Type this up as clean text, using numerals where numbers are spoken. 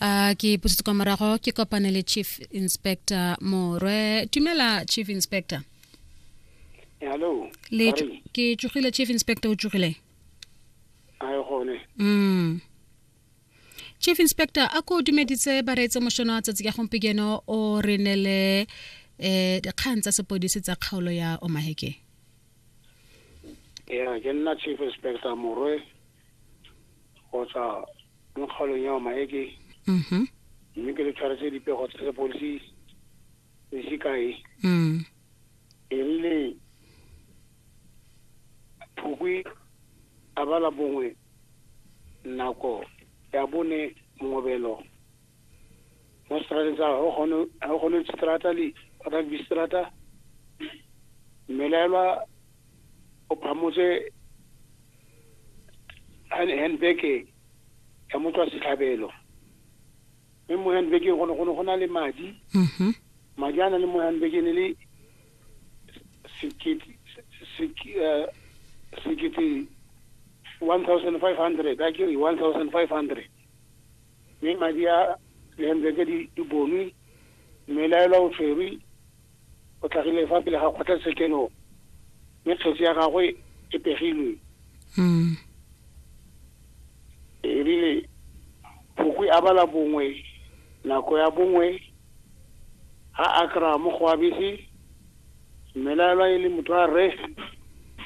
A ke pusetse kwa morago ke kopane le Chief Inspector Morwe. Tumela, Chief Inspector. Hello. Le ke tsogile, Chief Inspector, o tsogile? A gone. Chief Inspector, a ko dumeditse bareetse mošono wa tsatsi ka gompieno, o re nele dikgang tsa sepodisi tsa kgaolo ya Omaheke. Ya, ke nna Chief Inspector Morwe go tswa mo kgaolong ya Omaheke. Mme ke le tshwaretse dipego tsa sepodisi le sekae. E rile Phukwi a bala bongwe nako ya bone mongobelo mo strateng sa Hogone Strata le Rugby Strata, mmelaelwa o phamotse handbag ya motho wa setlhabelo, mme mo handbageng go ne go na le madi. Madi a na le mo handbageng e le sekete 1500, a kere 1500, mme madi a le handbag di bonwe. Mmelaelwa o tshwerwe, o tlhagile fa pele ga kgotlatshekelo, mme kgetse ya gagwe e pegilwe. E rile Phukwi a bala bongwe nako ya bongwe ha a kry-a mo go abese, mmelaelwa e le motho wa rre.